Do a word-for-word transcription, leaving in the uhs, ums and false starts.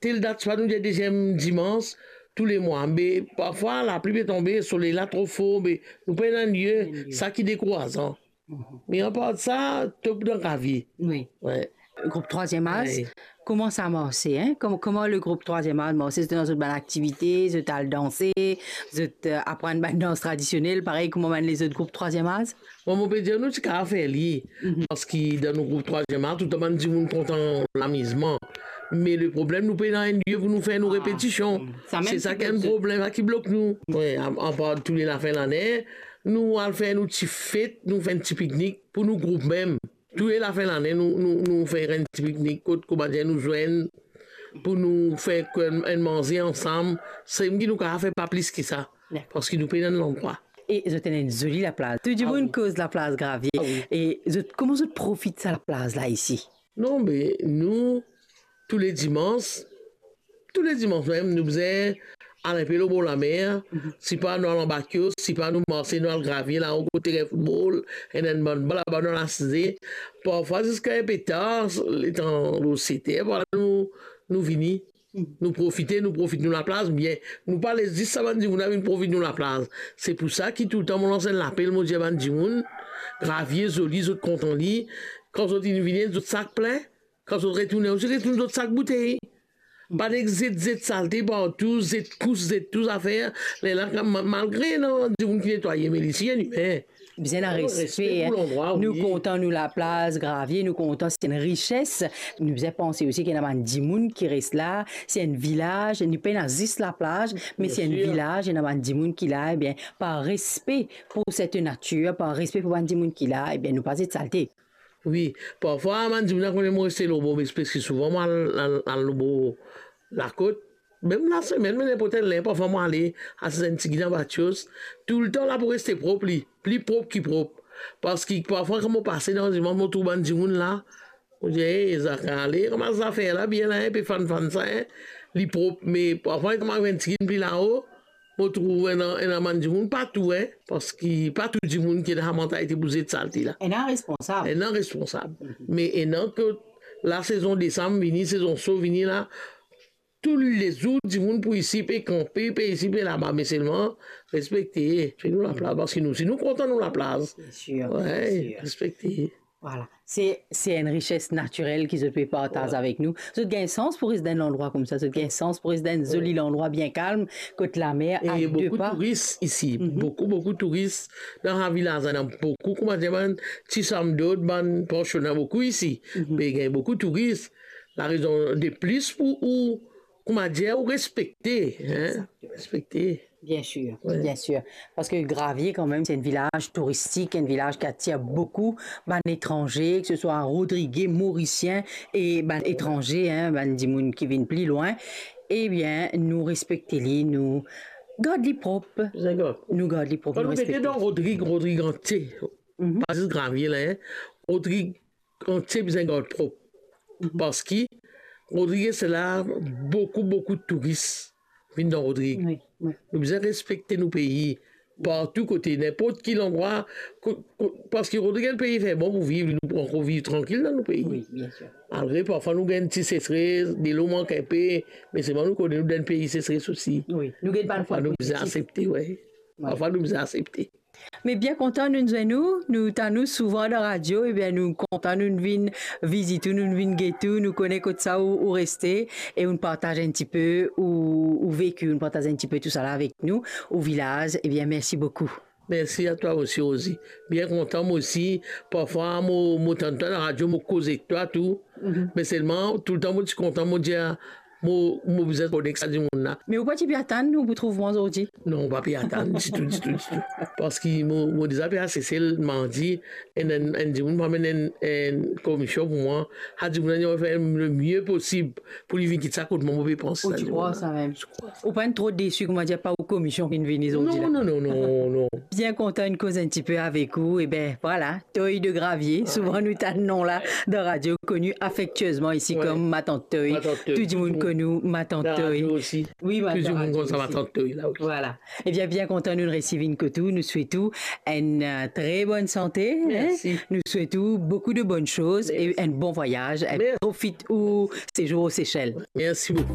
tel dat, swa nou dir deziem dimans tou le mwa. Me parfwa lapli pe tonbe, soley la tro for, me nou pena enn lie, sa ki dekourazan. Me apar sa, top dan Gravie. Wi. Wi. Group Trwaziem Az, wi, kouma sa marse, hein? Kouma, kouma le group Trwaziem Az marse? Zot ena zot bann aktivite, zot al danse, zot, euh, aprann bann dans tradisionel, parey kouma bann lezot group Trwaziem Az? Mwa, mo pe dir nou ti kapav fer li, parski dan nou group Trwaziem Az, toultan bann dimoun kontan lamizman. Me le problem, nou pena enn lie pou nou fer nou, ah, repetision. Sa mem se sa ki enn problem, sa ki blok nou. Wi, a-, apar tou le lafin lane, nou al fer nou ti fet, nou fer enn ti piknik pou nou group mem. Tou le lafin lane, nou, nou, nou fer enn ti piknik kot, kouma dir, nou zwenn pou nou fer enn, enn manze ansam. Semem ki nou kapav fer, pa plis ki sa. Dakor. Parski nou pena enn landrwa. E zot ena enn zoli laplaz. Tou dimoun, ah wi, koz laplaz Gravie. Ah wi. E zot, kouma zot profit sa laplaz la isi? Non, me nou, tou le dimans, tou le dimans mem, nou bizin al enpe lor bor lamer, mhm, sipa nou al anba kios, sipa nou marse, nou al Gravie la, kot teren foutbol, ena enn bann bal laba nou al asize. Parfwa ziska enpe tar, letan lor set er, vwala nou, nou vini. Mhm. Nou profite, nou profit nou laplaz bien. Nou pa les zis sa bann dimoun la vinn profit nou laplaz. Se pou sa ki toultan mo lans enn lapel, mo dir bann dimoun, Gravie zoli, zot kontan li. Kan zot inn vini, zot sak plin. Kan zot retourne osi, retourn zot sak boutey. Pa nek zet, zet salte partou, zet kous, zet tou zafer. Lerla, ma-, malgre ena dimoun ki netwaye, me li ti enn imin. Bizin ena, oh, respe, respe, hein, pou landrwa, wi. Nou kontan nou laplaz Gravie, nou kontan, se enn rises. Nou bizin panse osi ki ena bann dimoun ki res la, se enn vilaz, nou pena zis laplaz, me, bien sir, se enn vilaz, ena bann dimoun ki la, ebien, par respe pou set natir, par respe pou bann dimoun ki la, ebien, nou pa zet salte. Wi, parfwa bann dimoun la kone mo reste lor bor, me preski souvan mo al, al, al lor bor lakot. Mem lasemenn, me ninport enn ler, parfwa mo ale asiz enn tigit anba kios. Toultan la pou reste prop li, pli prop ki prop. Parski parfwa kan mo pase dan dimoun, mo trouv bann dimoun la, mo dir, "Ey, Zaka, ale, kouma zafer la, bien la, hein, pe fann fann sa, hein." Li prop, me parfwa kan mo ariv enn tigit pli lao, mo trouv ena, ena bann dimoun pa tou, hein, parski pa tou dimoun ki ena sa mantalite pou zet salte la. Ena responsab. Ena responsab. Mhm. Me ena kot lasezon desam vini, sezon so vini la, tou le zour dimoun pou isi, pe kanpe, pe isi, pe laba, me selman respekte, fer nou laplaz, parski nou, si nou kontan nou laplaz. Bien sir, wi, bien sir, respekte. Vwala. Se, se enn rises natirel ki zot pe partaz, wi, avek nou. Zot gagn sans pou res dan enn landrwa koumsa, zot gagn sans pou res dan enn, wi, zoli landrwa bien kalm, kot lamer a de pa. E boukou touris isi, mhm, boukou, boukou touris. Dan sa vilaz la, ena boukou, kouma dir, bann ti samdod, bann pansio, ena boukou isi. Mhm. Me gagn boukou touris. Larezon de plis pou ou, kouma dir, ou respekte, hein? Exactement. Respekte. Bien sir, wi, bien sir. Parski Gravie, kanmem, se enn vilaz touristik, enn vilaz ki atir boukou bann etranze, ki se swa Rodrige, Morisien e bann etranze, hein, bann dimoun ki vinn pli lwin. Ebien, nou respekte li, nou gard li prop. Bizin gard. Nou gard li prop, kan nou, nou respekte. Kan nou gete dan Rodrig, Rodrig antie, mhm, pa zis Gravie la, hein. Rodrig antie bizin gard prop. Mhm. Parski Rodrig se la boukou, boukou touris vinn dan Rodrig. Wi, wi. Nou bizin respekte nou pei. Partou kote, ninport ki landrwa, ko-, ko-, parski Rodrig enn pei fer bon pou viv, nou pou ankor viv trankil dan nou pei. Wi, bien sir. Malgre parfwa nou gagn ti sesres, delo mank enpe, me selman nou kone nou dan enn pei sesres osi. Wi, nou gagn bann... Parfwa nou bizin aksepte, wi. Wi. Parfwa nou bizin aksepte. Me bien kontan nou zwenn ou, nou tann ou souvan dan radio, ebien nou kontan nou vinn vizit ou, nou vinn get ou, nou kone kot sa ou, ou reste, e ou partaz enn tipe ou, ou veki, ou partaz enn tipe tousala avek nou, ou vilaz. Ebien, mersi boukou. Mersi a twa osi, Rosie. Bien kontan, mwa osi. Parfwa, mo, mo tann twa dan radio, mo koz ek twa tou. Mhm. Me selman, toultan mo ti kontan, mo dir, mo, mo bizin konek sa dimoun la. Me ou pa ti pe atann ou pou trouv mwa zordi? Non, pa pe atann, ditou, ditou, ditou. Parski mo, mo deza pe al Sesel mardi, enn, enn, enn dimoun pou amenn enn, enn komision pou mwa. Sa dimoun la, li fer le mie posib pou li vinn kit sa kot mwa, mo pe panse sa dimoun la. Ou ti krwar sa mem? Ou pa enn tro desi, koumadir, pa ou komision ki vinn zordi la? Non, non, non, non, non. Bien kontan inn koz enn tipe avek ou. Ebien, vwala, Toy de Gravier. Wi. Souvan nou tann nom la dan radio, koni afektiezman isi, wi, kom Matant Toy. Matant Toy. Tou dimoun konn ou Matant Toy. Dan radio osi. Wi, wi, tou dimoun konn sa, Matant Toy la, wi. Vwala. Ebien, bien kontan nou resiv inn kot ou. Nou swet ou enn, euh, tre bonn sante, hein. Mersi. Nou swet ou boukou de bonn soz e enn bon vwayaz. Mersi. Mersi. Profit ou sezour o Sesel. Mersi boukou.